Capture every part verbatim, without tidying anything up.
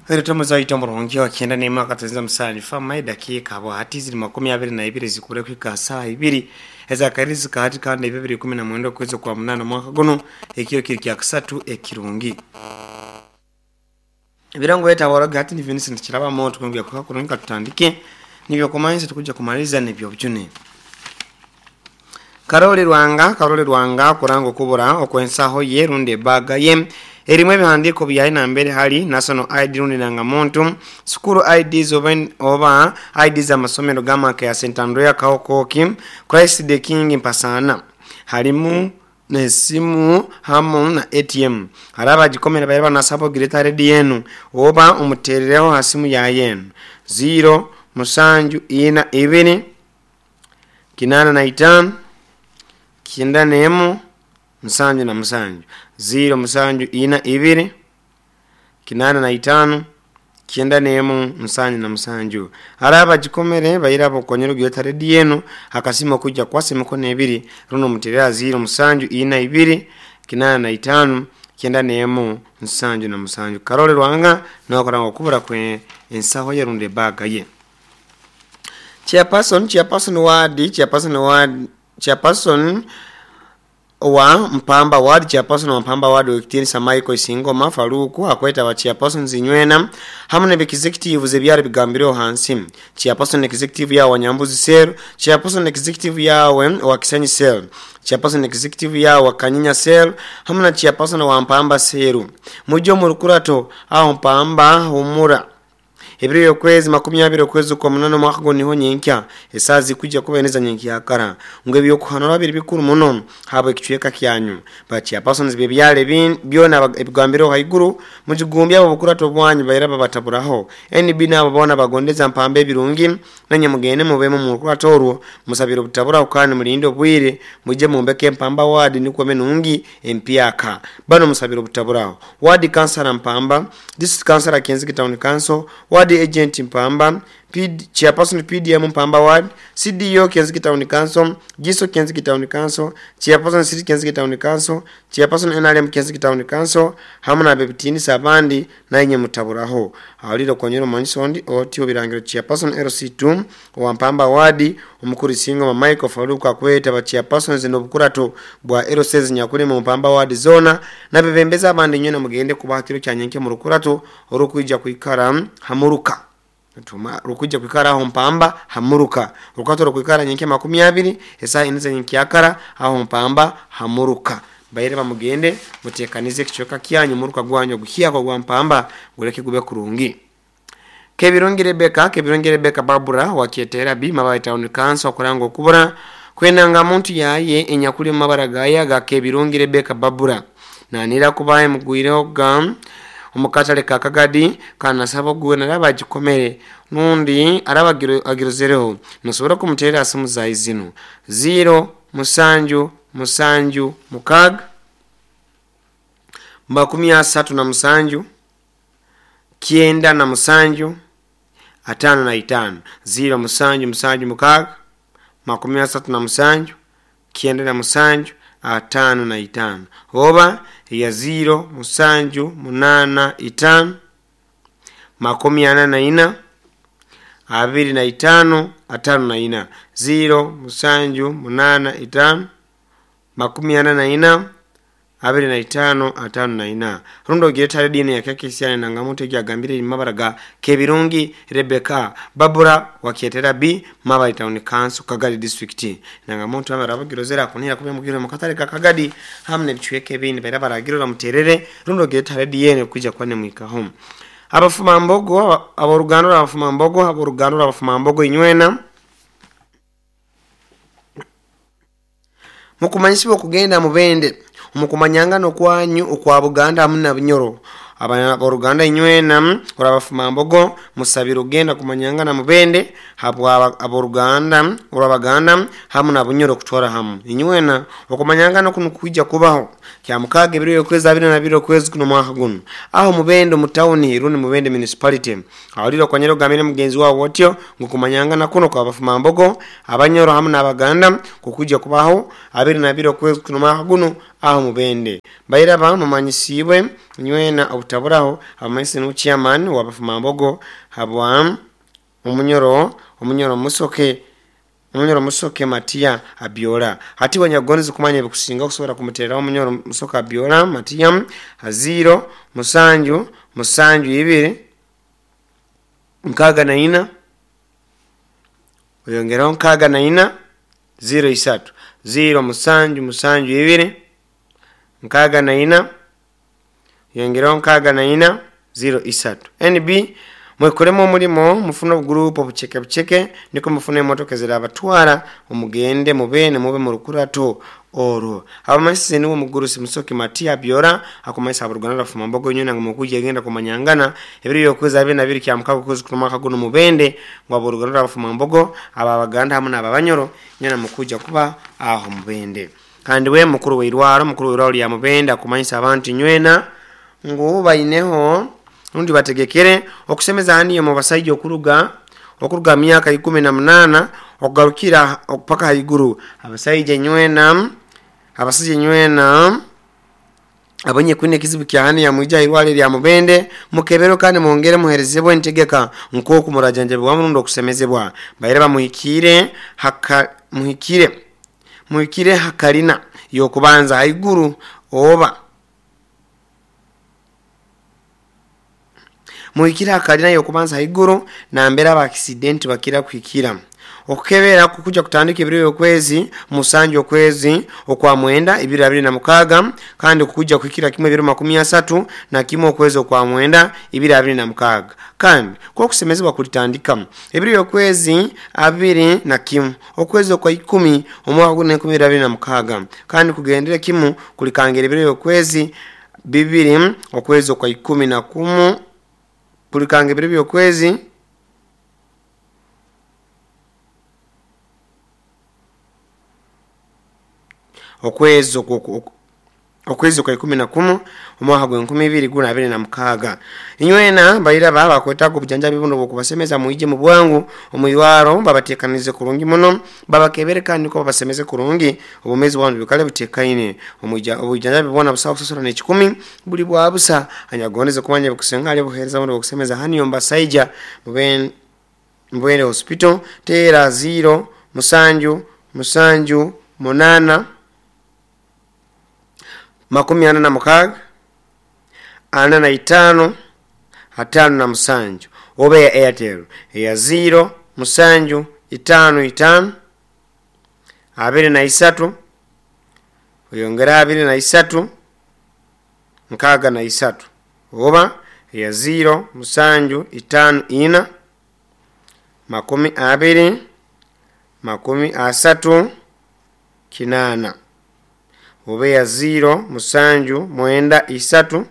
Retomuzaita omurungi wakyenda n'emwaka tuzinza musanifa mai dakika abo hati ziri makumi abiri na ibiri zikure kuhika saa ibiri ezakarizi zikahati kandi ebyo bibiri kumi na mwenda okwezi kwa munana mwaka guno ekiro kiri kya kusatu ekirungi ebirango yetaboraga hati ni Vincent Kiraba moto kumbya kwa kurungi tutandike nibyo kumanyisa tukuja kumaliza nibyo bujune Karoli Rwanga Karoli Rwanga kurango kubura okwensaho ye runde baga ye erimu ebihandiiko byaye nambere hali national I D rundi nangamuntu sukuru I Ds oba, oba I Ds amasomero gamaka ya Saint Andrea Kaokoki Christ the King Mpasana halimu nesimu hamu na A T M haraba jikomera bayaba nasabo gireta redi yenu oba umuterereho hasimu ya yenu zero musanju ina ibiri kinana na itano kinda nemu musanju na musanju zero musanju ina ibiri kinana na itano kienda nemu musanju na musanju araba jikomere bayirabo konyero gyota redi yenu akasima kuja kwase mikono ebiri runo muterera zero musanju ina ibiri kinana na itano kienda nemu musanju na musanju Karole Rwanga nakoranga kubura kwe ensaho yerunde baga ye Chairperson Chairperson ward Chairperson ward Chairperson wa Mpamba ward Chairperson wa Mpamba ward wekitinisa Michael Singoma Faruku akweta wa Chairperson zinywena hamwe ne executive zebyari bigambiro hansi Chairperson executive ya Wanyambuzi Cell Chairperson executive yawe wa Kisenyi Cell Chairperson executive ya wa Kanyinya Cell hamwe na Chairperson wa Mpamba Cell mujo mu rukurato aho Mpamba humura Ebiro yokwezi makumi abiri okwezi kwa munana mwaka go niho nyenkya esazi kujja kubeneza nyenkya akara ngwe byokuhanura biri bikuru muno habo ekicweka kyanyu ba chairpersons bebyale byona ebigambiro haiguru mujigumbya abo bukurato bwanyu bayira babataburaho N B nabo bona bagondeza Mpamba ebirungi nanye mugende mubemo mu rukurato orwo musabiro butabura kandi mulinde obwire muje mumbeke Mpamba ward nikwo menungi empyaka bano musabiro butaburaho ward councilor Mpamba district councilor Kenzigi Town Council ward agent Mpamba P D, Chairperson P D M Mpamba ward C D O Kenzigi Town Council Giso Kenzigi Town Council Chairperson City Kenzigi Town Council Chairperson N R M Kenzigi Town Council hamwe na bebitini sabandi nayenye mutaburaho awaliro konyero manyisondi otyo birangiro Chairperson L C two wa Mpamba ward omukuru Singo Michael Faruku akweta ba Chairpersons n'obukurato bwa L C nyakuri mu Mpamba ward zona nabebembeza abandi nyene mugende kubahatiro kyanyenke mu rukurato orukwija kwikara hamuruka Tuma rukuja kwikara aho Mpamba hamuruka rukato rukwikara nyenke makumi abiri esa inze nyenke akara aho Mpamba hamuruka bayire bamugende mutekanize kichoka kyanyu muruka gwanyo guhiya kwa gwa Mpamba gureke gube kurungi Kebirungi Rebecca Kebirungi Rebecca Babura wakietera bi Mabayi Town Council kurango kubura kwenanga muntu yaye enyakuli mabara gaya ga Kebirungi Rebecca Babura nanira kubaye mugwireho ga omukatale ka Kagadi kana sabo gwe naraba gikomere nundi arabagiro agirozereho nosobora kumutera asimu za izino zero musanju musanju mukaga makumi asatu na musanju kienda na musanju atano na itano zero musanju musanju mukaga makumi asatu na musanju kienda na musanju atano na itano oba ya zero musanju munana itano makumi ana na ina abiri na itano atano na ina zero musanju munana itano makumi ana na ina abiri na itano atano na ina rundo gireta dini ya keke siane na ngamuntu gyagambire mabaraga Kebirungi Rebecca Babura wakietera B Mabayi Town Council Kagadi District na ngamuntu abarabagirozera kunira kubye mugiro mukatare ka Kagadi hamne bichweke bindi baira baragirora muterere rundo gireta dini kuja kwane mwika home abafuma mbogo aborugando abafuma mbogo aborugando abafuma mbogo inywena mukumanyisibwa kugenda mubende mukumanyanga no kwanyu okwa Buganda amuna Bunyoro aboruganda inywena orabafuma mbogo musabiro genda kumanyanga na mubende habwa aboruganda orabaganda hamu na Bunyoro kutwara hamu inywena okumanyanga no kunukuja kubaho kya mukaga ebiro yokwezi abiri na biro kwezi kuno mwaka guno aho mubende mu town runi mubende municipality awaliro kwanyero gamire mugenzi wabo otyo ngukumanyanga na kuno kwa bafuma mbogo abanyoro hamu na Abaganda kukuja kubaho abiri na biro kwezi kuno mwaka guno aho Mubende bairaba mumanyisibwe nywena obutaburaho abamanyisi nu chairman wabafumambogo habwa omunyoro omunyoro musoke omunyoro musoke Matia Abiola hati wanyagonzi kumanya bikusinga kusobora kumuterera omunyoro musoke Abiola Matia zero musanju musanju ibiri nkaga na ina oyongeraho nkaga na ina zero isatu zero musanju musanju ibiri nkaga na ina yongeraho nkaga na ina zero isatu N B mwekolemo omulimo mufune obugurupu obucheke bucheke niko mufune emotoka zirabatwara omugende mubene mube mu rukurato orwo abamanyisi niwo mugurusi musoke Matia Abiola akumanyisa abaruganda rafumambogo nyona ngo mukuje agenda kumanyangana ebiri yokweza abiri na biri kya mukago kwezi kumaka guno Mubende ngo abaruganda rafumambogo aba baganda hamwe n'ababanyoro nyona mukuja kuba aho Mubende kandi we mukuru weirwaro mukuru weirwaro lya Mubende akumanyisa abantu nywena ngo baineho rundi bategekere okusemeza haniyo mu basajja okuruga okuruga myaka ikumi na munana okugarukira okupaka haiguru abasajja nywena abasajja nywena abonye kwine kizibu kya hani ya mwija irwale lya Mubende mukebero kandi muongere muherezebwe entegeka nkoku murajanje bwa murundo okusemezebwa baire bamuhikire haka muhikire muhikire hakalina yokubanza haiguru oba muhikira hakalina yokubanza haiguru na mbera aba accident bakira kuhikira okukebera kukuja kutandika ebiro yokwezi musanju okwezi okwa mwenda ibiri abiri na mukaga kandi kukuja kuhikira kimwe ebiro makumi asatu na kimwe okwezi okwa mwenda ibiri abiri na mukaga kandi kwa kusemezebwa kulitandika ebiro yokwezi abiri na kimwe okwezi okwa ikumi omwaka gune enkumi abiri na mukaga kandi kugendera kimu kulikangera ebiro yokwezi bibiri okwezi okwa ikumi na kumu kulikanga ebiro byokwezi okwezi okwezi kwa ikumi na kumu omwaka gwe enkumi ibiri guna abiri na mukaga inywena baira baba kwetaga obujanjabi buno bwokubasemeza muije mu bwangu omuyirwaro babatekanize kurungi muno babakebere kandi ko babasemeze kurungi obumezi bwanu bikale butekaine omuja obujanjabi bwona busawa kusasura n'ekikumi buli bwa busa anyagoneze kumanya bukusenga ali buhereza buno bokusemeza haniyo mbasaija mubene Mubende hospital tera zero musanju musanju munana makumi ana na mukaga ana na itano atano na musanju obe ya Airtel ya zero musanju itano itano abiri na isatu oyongera abiri na isatu nkaga na isatu oba ya zero musanju itano ina makumi abiri makumi asatu kinana obe ya zero musanju mwenda isatu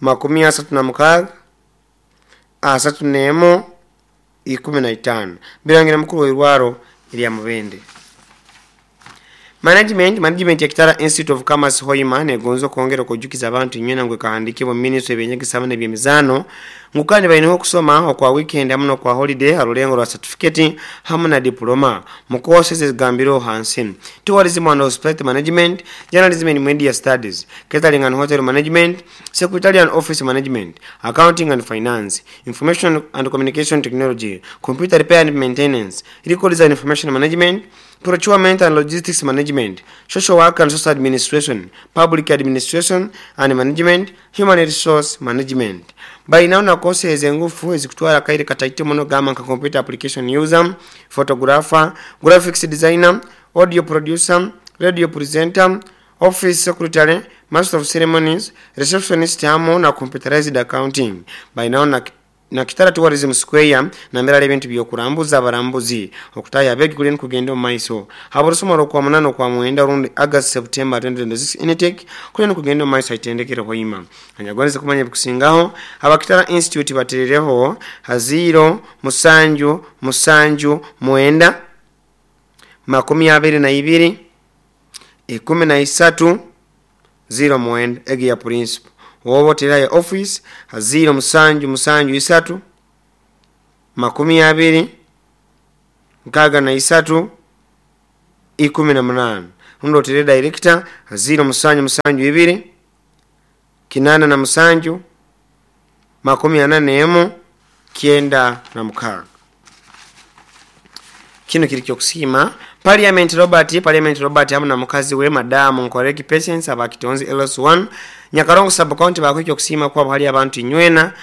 makumi asatu na mukaga asatu nemo ikumi na itano birangira mukuru weirwaro ilya Mubende. Management management ya Kitara Institute of Commerce Hoima negonzo kongera kujukiza abantu nywena ngwe kahandikibwa ministry ebyenyegesa hamwe n'ebyemizano ngukandi bayineho okusoma okwa weekend hamwe n'okwa holiday arulengo rwa certificate hamwe na diploma mukose zigambiro hansi tourism and hospitality management, journalism and media studies, catering and hotel management, secretarial and office management, accounting and finance, information and communication technology, computer repair and maintenance, records and information management, procurement and logistics management, social work and social administration, public administration and management, human resource management. By now na kose ezengufu ezikutwara kaire kataite muno gama nka computer application user, photographer, graphics designer, audio producer, radio presenter, office secretary, master of ceremonies, receptionist hamwe na computerized accounting. By now na na Kitara Tourism Square na mbera ebintu byokurambuza abarambuzi okutaya abegi kuleni kugenda mu maiso haborosoma kwa munano kwa mwenda rundi August September twenty twenty-six intake kuleni kugenda mu maiso itendekere hoima anyagwanze kumanya bikusingaho abakitara Institute baterereho haziro musanju musanju mwenda makumi abiri na ibiri ikumi na isatu zero mwenda egi ya principal wobo teraye office haziro musanju musanju isatu makumi abiri nkaga na isatu ikumi na munane Rundi otere director ziro musanju musanju ibiri kinana na musanju makumi ana n'emu kyenda na mukaaga. Kino kiri kyokusiima Parliament Robert, Parliament Robert hamu na mukazi we Madamu Nkoreki Patience abakitonzi L S one Nyakarongo sub county bakwekyo okusiima kwabo hali abantu inywena,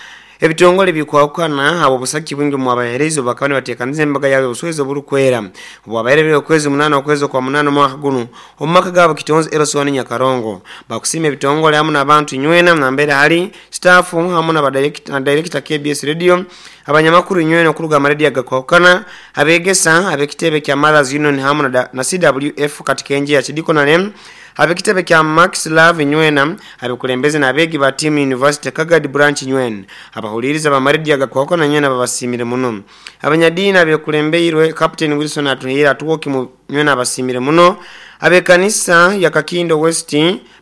ebitongole bikwawukana abo busaki bwingi mwabahereza bakaba nibateekaniza embaga yaabwe obuswezi oburukwera obwabaire okwezi munana okwezi kwa munana omwaka guno omu maka gaabo Kitonzi L S one Nyakarongo. Bakusiima ebitongole hamu n'abantu inywena nambere hali staff hamu na director K B S Radio, abanyamakuru inywena okuruga amarediyo agakwawukana, abegesa ab'ekitebe kya Mothers Union hamu na, na C W F Katikenje ya Kidikonale, ab'ekitebe kya Max Love inywena, abekulembeze n'abeegi ba Team University Kagadi branch inywena, abahuliriza bamarediyo agakwawukana inywena babasimire muno, abanyadiini abekulembeirwe Captain Wilson Atuhaire Atuwoki nywena abasimire muno, abekanisa ya Kakindo West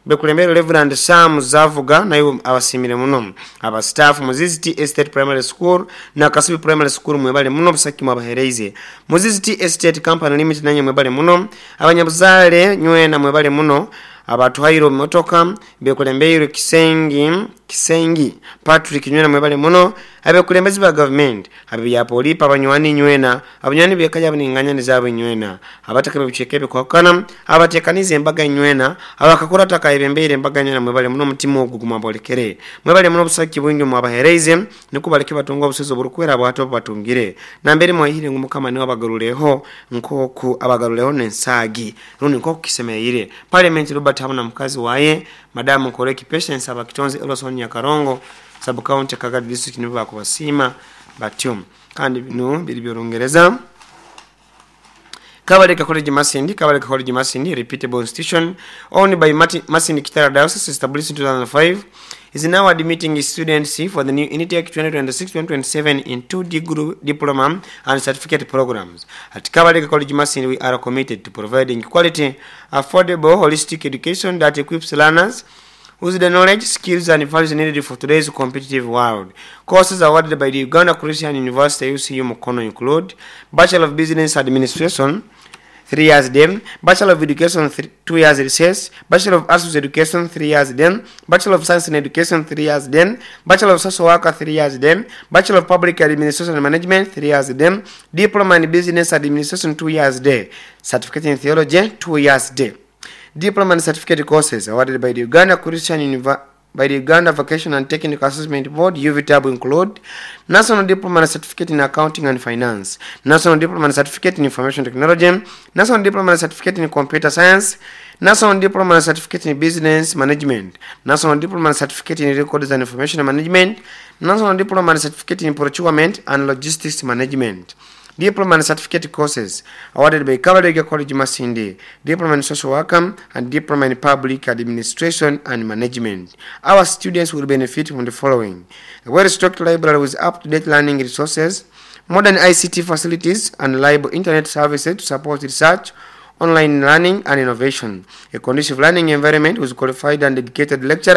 bekulembere Reverend Sam Zavuga nayo abasimire muno, abastaff Muzizi Tea Estate Primary School na Kasubi Primary School mwebale muno busaki mwabahereize, Muzizi Tea Estate Company Limited nanye mwebale muno, abanyabuzaale nywena mwebale muno, abatuhaire motoka bekulembeirwe Kisengi Kisengi Patrick nywena mwebale muno, abekulembezi ba government abebyapolipa, abanywani nywena, abanywani bekaja abaninganya nizaabo nywena, abataka bebicweka ebikwakana abatekaniza embaga nywena, abakakura takayebembeire embaga nywena mwebale muno, omutima ogwo gumwabolekere, mwebale muno obusaki bwingi mwabahereize niko baleke batunga obusozi oburukwera bwato batungire nambere mwahire ngu Mukama niwe abagaruleho nkoku abagaruleho nensaagi rundi nkoku kisemereire. Parliament Robert hamu na mukazi waye Madamu Nkoreki Patience abakitonzi L S one Nyakarongo sub county Kagadi district nibo bakubasiima batyo. Kandi bino biri by'Orungereza. Kabaleka College Masindi, Kabaleka College Masindi, reputable institution owned by Mati, Masindi Kitara Diocese, established in two thousand five, is now admitting students for the new intake twenty twenty-six twenty twenty-seven in two degree, diploma and certificate programs. At Kabaleka College Masindi, we are committed to providing quality, affordable, holistic education that equips learners with the knowledge, skills, and values needed for today's competitive world. Courses awarded by the Uganda Christian University U C U Mukono include Bachelor of Business Administration, three years then, Bachelor of Education, three, two years recess, Bachelor of Arts with Education, three years then, Bachelor of Science in Education, three years then, Bachelor of Social Worker, three years then, Bachelor of Public Administration and Management, three years then, Diploma in Business Administration, two years there, Certificate in Theology, two years there. Diploma and certificate courses awarded by the Uganda Christian University by the Uganda Vocational and Technical Assessment Board U V T A B include National Diploma and Certificate in Accounting and Finance, National Diploma and Certificate in Information Technology, National Diploma and Certificate in Computer Science, National Diploma and Certificate in Business Management, National Diploma and Certificate in Records and Information Management, National Diploma and Certificate in Procurement and Logistics Management. Diploma and certificate courses awarded by Kabalega College Masindi, Diploma in Social Work and Diploma in Public Administration and Management. Our students will benefit from the following: a well-stocked library with up-to-date learning resources, modern I C T facilities and reliable internet services to support research, online learning and innovation, a conducive learning environment with qualified and dedicated lecturers.